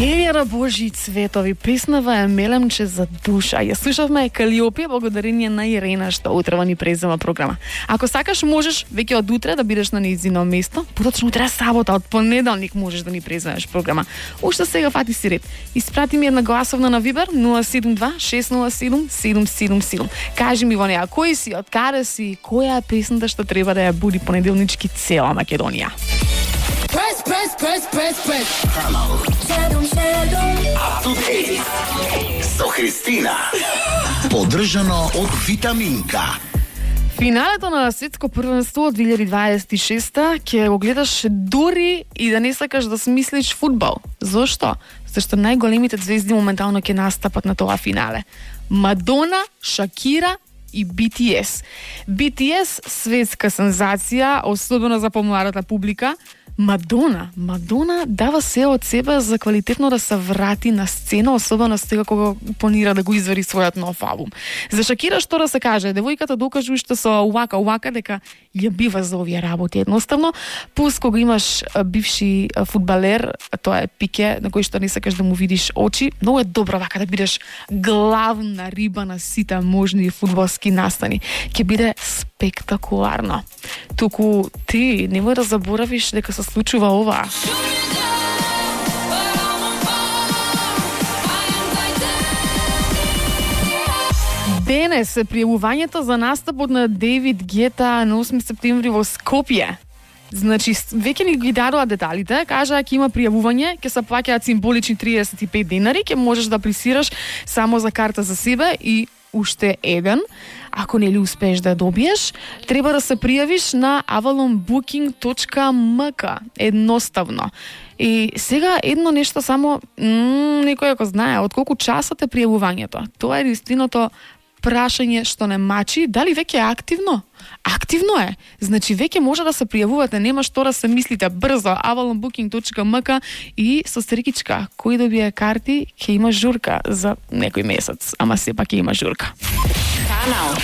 Елјара Божи цветови, песнава е мелемче за душа. Ја слушавме Калиопија благодарение на Ирена што утрева ни презема програма. Ако сакаш можеш веќе од утре да бидеш на нејзино место, поточно утре сабота, од понеделник можеш да ни преземеш програма. Уште сега фати си ред. Испрати ми една гласовна на Вибер 072 607 777. Кажи ми во неа кој си, од каде си, која е песната што треба да ја буди понеделнички цела Македонија. Press. Со Христина. Поддржано од Витаминка. Финалето на светско првенство од 2026 ќе го гледаш дури и да не сакаш да смислиш фудбал. Зошто? Зашто најголемите звезди моментално ќе настапат на тоа финале. Мадона, Шакира и BTS. BTS светска сензација, особено за помладата публика. Мадона дава се од себе за квалитетно да се врати на сцена, особено сега кога планира да го извади својот нов албум. За Шакира што да се каже, девојката докажа уште со Waka дека ја бива за овие работи едноставно, пус кога имаш бивши фудбалер, тоа е Пике, на кој што не сакаш да му видиш очи, многу е добро вака да бидеш главна риба на сите можни фудбалски настани. Ќе биде спектакуларно. Туку ти немој да заборавиш дека се случува ова. Денес е пријавувањето за настапот на Дейвид Гета на 8 септември во Скопје. Значи, веќе ни ги дадоа деталите, кажа ќе има пријавување, ќе се плаќаат символични 35 денари, ќе можеш да апlicираш само за карта за себе и уште еден. Ако не ли успееш да ја добиеш, треба да се пријавиш на avalonbooking.mk. Едноставно. И сега едно нешто само, некој ако знае, од колку часот е пријавувањето. Тоа е единственото прашање што не мачи, дали веќе е активно? Активно е. Значи веќе може да се пријавувате, нема што да се мислите, брзо avalonbooking.mk и со стрикичка, кој добие карти ќе има журка за некој месец, ама сепак ќе има журка. Канал